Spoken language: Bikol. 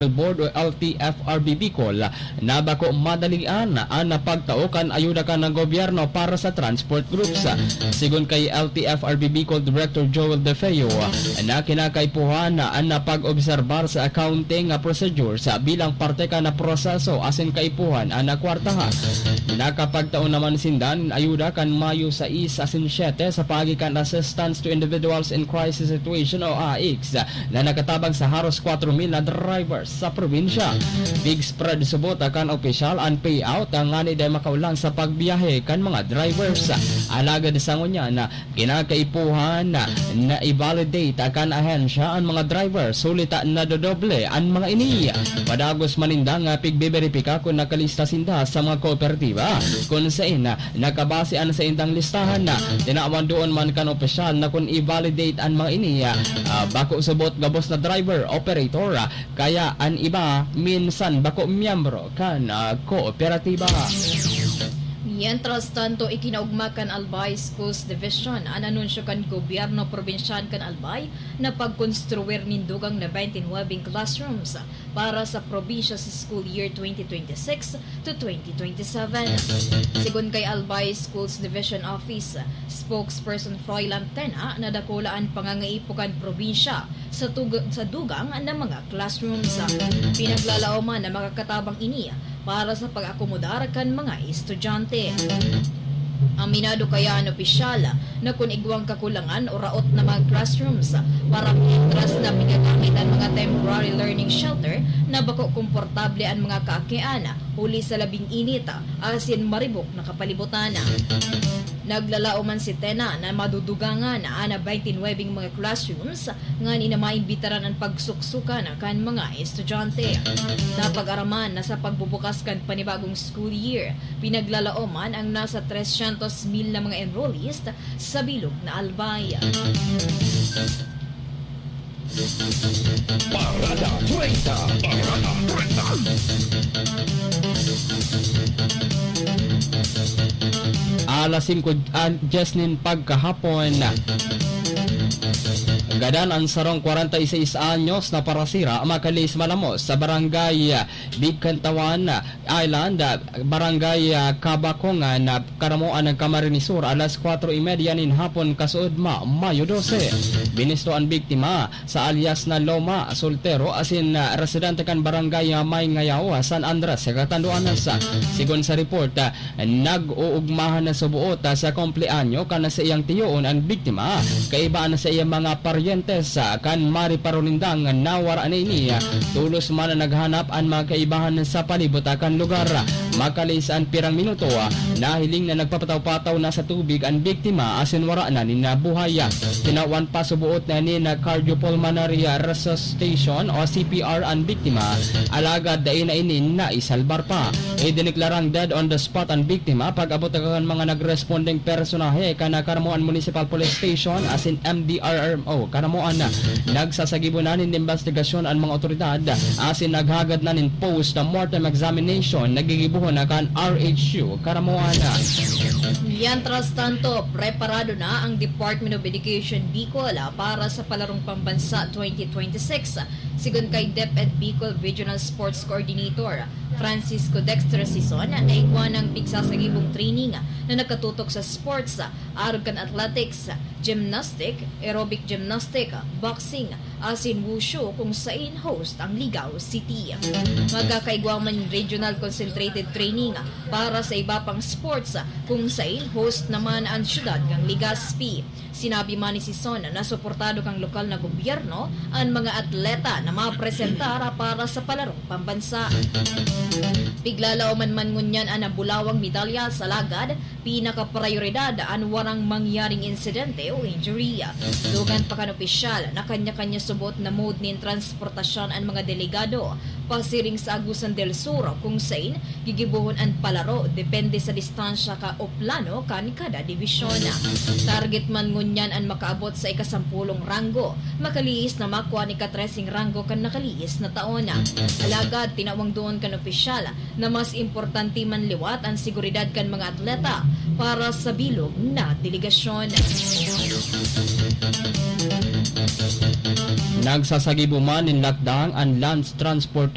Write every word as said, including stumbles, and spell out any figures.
Board o L T F R B Bicol na bako madalian an pagtao kan ayuda kan gobyerno para sa transport groups. Sigon kay L T F R B Bicol Director Joel De Feo, na kinakaipuhan an pag-obserbar sa accounting procedures bilang parte kan proseso asin kaipuhan an kwartaha. Nakapagtao naman sinda nin ayuda kan Mayo sais asin siyete sa paagi kan Assistance to Individuals in Crisis Situation o AICS na nakatabang sa haros kwatro mil na drivers sa probinsya. Big spread subot kan opisyal an payout ngani dai makaolang sa pagbiyahe kan mga drivers. Alagad sa ngunyan, kinakaipuhan na i-validate kan ahensya an mga drivers, huli ta nadodoble an mga ini. Padagos man ninda nga pigbeberipika kun nakalista sinda sa mga kooperatiba, kun saen nakabase an saindang listahan. Tinawan doon man kan opisyal na kun i-validate an mga ini, ah, bako subot gabos na driver, operator, ah, kaya an iba minsan bako miyembro kan, ah, kooperatiba. Mientras tanto, ikinaugma kan Albay Schools Division an anunsyo kan gobyerno probinsyal kan Albay na pagkonstruir nin dugang na twenty-nine classrooms para sa probinsya sa school year twenty twenty-six to twenty twenty-seven. Sigon kay Albay Schools Division Office Spokesperson Froilan Tena, na dakula an pangangaipo kan probinsya sa tug-, sa dugang na mga classrooms. Pinaglalaoman na makakatabang ini para sa pag-akomodar kan mga estudyante. Aminado kaya an opisyal na kun igwang kakulangan o raot na mga classrooms para mientras na pinagamit an mga temporary learning shelter na bako komportable an mga kaakian huli sa labing init asin maribok na kapalibutan. Naglalao man si Tena na madudugangan an twenty-nine mga classrooms ngani na maimbitaran an pagsuksukan kan mga estudyante. Napag-araman na sa pagbubukas kan panibagong school year, pinaglalaoman ang nasa tresyentos mil na mga enrollees sa bilog na Albay. Parada treinta. Parada treinta. Alas singko, ah, dyes nin pagkahapon. Gadan an sarong kwarenta y seis anyos na parasira, makalis malamos sa barangay, ah, Bigkantawan, ah, Island, ah, barangay, ah, Kabakongan, ah, Karamoan ng Camarines Sur, alas kwatro y media nin hapon, kasuodma, Mayo dose. Binisto an biktima sa alias na Loma, soltero, asin, ah, residente kan barangay, ah, May Ngayaw, ah, San Andres, Catanduanes. Sigon sa report, ah, nag-uugmahan na subuot, ah, sa kumpleanyo kan saiyang tiyoon an biktima. Kaiba na sa iyang mga paryentes, ah, kan mariparo nindang nawara na ini, ah, tolos man na naghanap an mga kaibahan sa palibot, ah, kan lugar. Makalis an pirang minuto, ah, nahiling na nagpapataw-pataw na sa tubig an biktima asin wara na nin, ah, buhay. Tinawan pa subuot na nin, ah, cardiopulmonary, ah, resuscitation o C P R an biktima, alagad dai na ini naisalbar pa. Idineklarang dead on the spot an biktima pag-abot kan mga nagrespondeng personahe kan Caramoan Municipal Police Station asin M D R R M O Caramoan. Nagsasagibo na nin imbestigasyon an mga otoridad asin naghagad na nin post-mortem examination na gigibohon na kan R H U Caramoan. Mientras tanto, preparado na ang Department of Education Bicol para sa Palarong Pambansa twenty twenty-six. Sigon kay DepEd Bicol Regional Sports Coordinator Francisco Dexter Sison, na igwa ng pigsasagibong training na nakatutok sa sports, arog kan athletics, gymnastic, aerobic gymnastic, boxing, asin wushu, kung sain host ang Ligao City. Magkakaigwa man regional concentrated training para sa iba pang sports, kung sain host naman ang siyudad ng Legazpi. Sinabi man ni Sison na suportado kan lokal na gobyerno an mga atleta na mapresentar para sa palarong pambansa. Piglalaoman man ngunyan an nabulawang medalya sa lagad, pinakaprayoridad an warang mangyaring insidente o injury. Dugang pa kan opisyal na kanya-kanya subot na mode nin transportasyon an mga delegado pasiring sa Agusan del Sur, kung sain gigibohon an palaro depende sa distansya ka o plano kan kada dibisyon. Target man ngunyan an makaabot sa ikasampulong ranggo, makaliis na makua an ikatreseng ranggo kan nakaliis na taon. Alagad tinawang doon kan opisyal na mas importante man liwat an seguridad kan mga atleta para sa bilog na delegasyon. Nagsasagibo man nin lakdang an Land Transport